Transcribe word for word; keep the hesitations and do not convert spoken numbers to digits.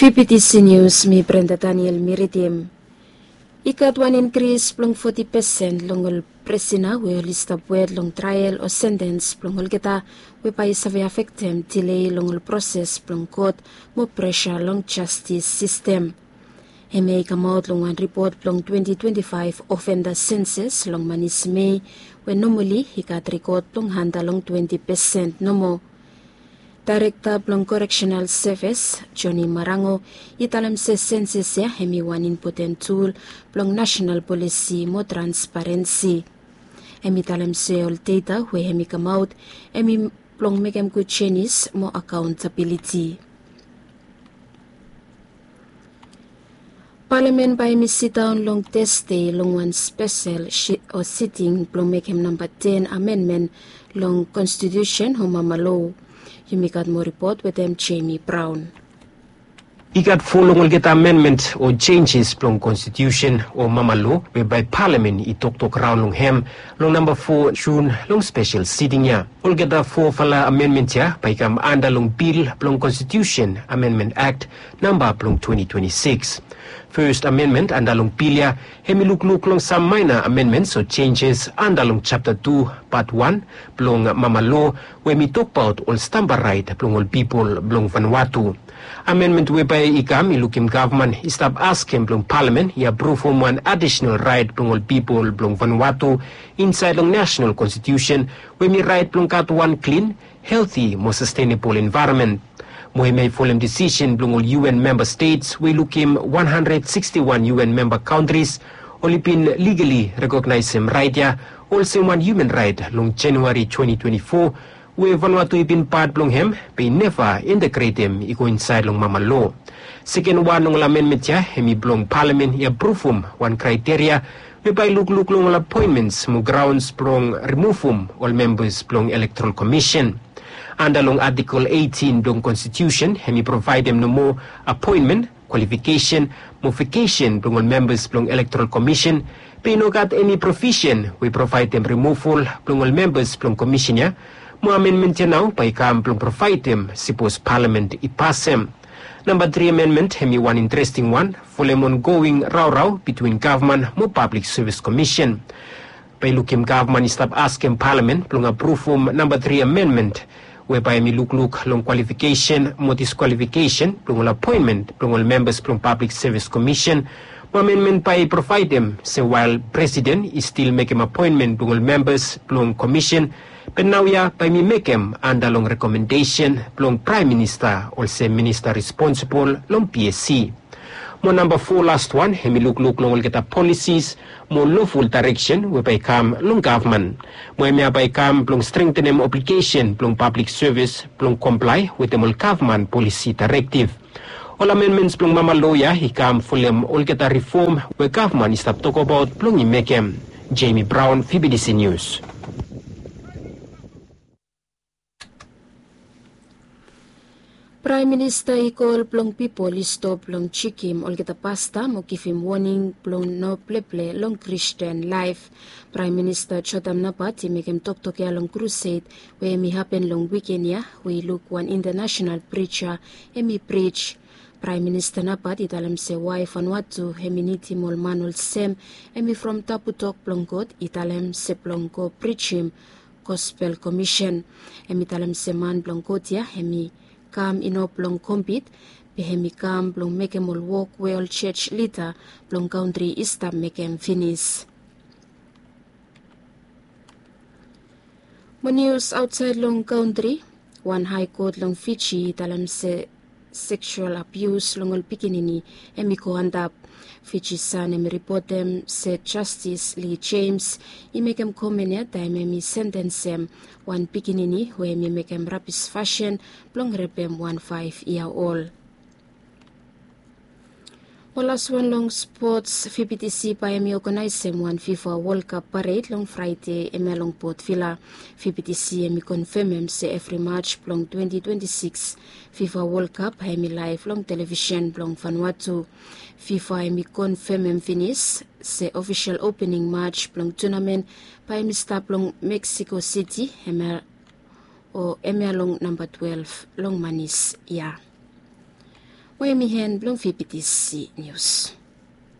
Pipitisi nius, mi Brenda Daniel mi ridim. I gat wan inkris blong foti pesen long ol prisina we oli stap wet long trael o sentens blong olgeta, we bae i save afektem dilei long ol proses blong kot mo presa long jastis sistem. Hemia i kamaot long wan ripot blong twenti twenti faef ofenda senses long manis mei, we nomali i gat rikot blong handa long twenti pesen nomo. Daerekta blong koreksenal sevis, Joni Marango, i talem se senses ya hem i wan impoten tul blong nasenal polisi mo transparensi. Hem i talem se ol deta we hem i kamaot hem i blong mekem gud jenis mo akaontabiliti. Palamen bae hem i sidaon long tesde long wan spesel o siting blong mekem namba ten amenmen long konstitiusen o mama lo. Yumi gat moa ripot wetem Jemi Braon. I gat fo long olgeta amenmen o jenjes blong konstitiusen o mama lo we bae palamen i toktok raon long hem long namba fo Jun long spesel siting ya. Olgeta fofala amenmen ya bae i kam anda long bil blong konstitiusen amenmen akt namba blong twenti twenti sikis. Fes amenmen anda long bil ya hem i lukluk long sam maena amenmen o jenjes anda long japta tu pat wan blong mama lo, we hem i tokbaot ol stamba raet blong ol pipol blong Vanuatu. Amenmen we bae i kam i lukim gavman i stap askem blong palamen i apruvum wan adisenal raet blong ol pipol blong Vanuatu insaed long nasenal konstitiusen, we hem i raet blong gat wan klin, helti mo sastenebol envaeronmen. Mo hemia i folem disisen blong ol UN memba stets we i lukim wan handred siksti wan UN memba kantris oli bin ligali rekognaesem raet ya olsem wan human raet long Januari twenti twenti fo, we Vanuatu i bin pat blong hem be i neva integretem i go insaed long mama lo. Seken wan long ol amenmen ya hem i blong palamen i apruvum wan kraeteria we bae i lukluk long ol apoenmens mo graons blong rimuvum ol membas blong elektoral komisen. Anda long atikol eitin blong konstitiusen hem i provaedem nomo apoenmen, kwalifikesen mo vakesen blong ol membas blong elektoral komisen, be i no gat eni provisen we i provaedem rimuval blong ol membas blong komisen ya. Mo amenmen ya nao bae i kam blong provaedem sipos palamen i pasem. Namba tri amenmen hem i wan interesting wan folem ongoing raorao bitwin gavman mo pablik sevis komisen. Bae i lukim gavman i stap askem palamen blong apruvum namba tri amenmen, we bae hem i lukluk long kwalifikesen mo diskwalifikesen blong ol apoenmen blong ol membas blong pablik sevis komisen. Mo amenmen bae i provaedem se wael presiden i stil mekem apoenmen blong ol membas blong komisen, be naoia bae hem i mekem anda long rekomendesen blong praem minista olsem minista responsibol long PSC. Mo namba fo lastwan hem i lukluk long olgeta polisis mo loful daereksen we bae i kam long gavman. Mo hemia bae i kam blong strengtenem obligesen blong pablik sevis blong komplae wetem ol gavman polisi daerektiv. Ol amenmens blong mama lo ya i kam folem olgeta rifom we gavman i stap tokbaot blong i mekem. Jemi Braon, Fibidisi Nius. Praem Minista i kol blong pipol i stop blong jikim olgeta pasta mo givim woning blong no pleple long Kristin laef. Praem Minista Jotam Napat i mekem toktok ya long krused we hem i hapen long wiken ya, we i luk wan intanasenal prija hem i prij. Praem Minista Napat i talem se wae Vanuatu hem i nidim ol man olsem hem i from tabu tok blong God i talem se blong go prijim gospel komisen. Hem i talem se man blong God ya hem i kam i no blong kompit, be hem i kam blong mekem ol wok we ol jej lida blong kantri i stap mekem finis. Mo nius aotsaed long kantri, wan hae kot long Fiji i talem se seksual abius long ol pikinini hem i go antap. Fiji San hem i ripotem se Jastis Lee Jems i mekem komen ya taem hem i sentensem wan pikinini we hem i mekem rabis fasin blong repem wan faef yia ol. Mo laswan long spots, Fibidisi bae hem i oganaesem wan Fifa Wol Kap pared long Fraede hemia long Port Vila. Fibidisi hem i konfemem se evri Maj blong twenti twenti sikis Fifa Wol Kap bae hem i laef long televisen blong Vanuatu. Fifa hem i konfemem finis se ofisel opening Maj blong tunamen bae hem i stap long Meksiko Siti hemia o hemia long namba twelef long manis ya. we em i hen blong fibitisi nius.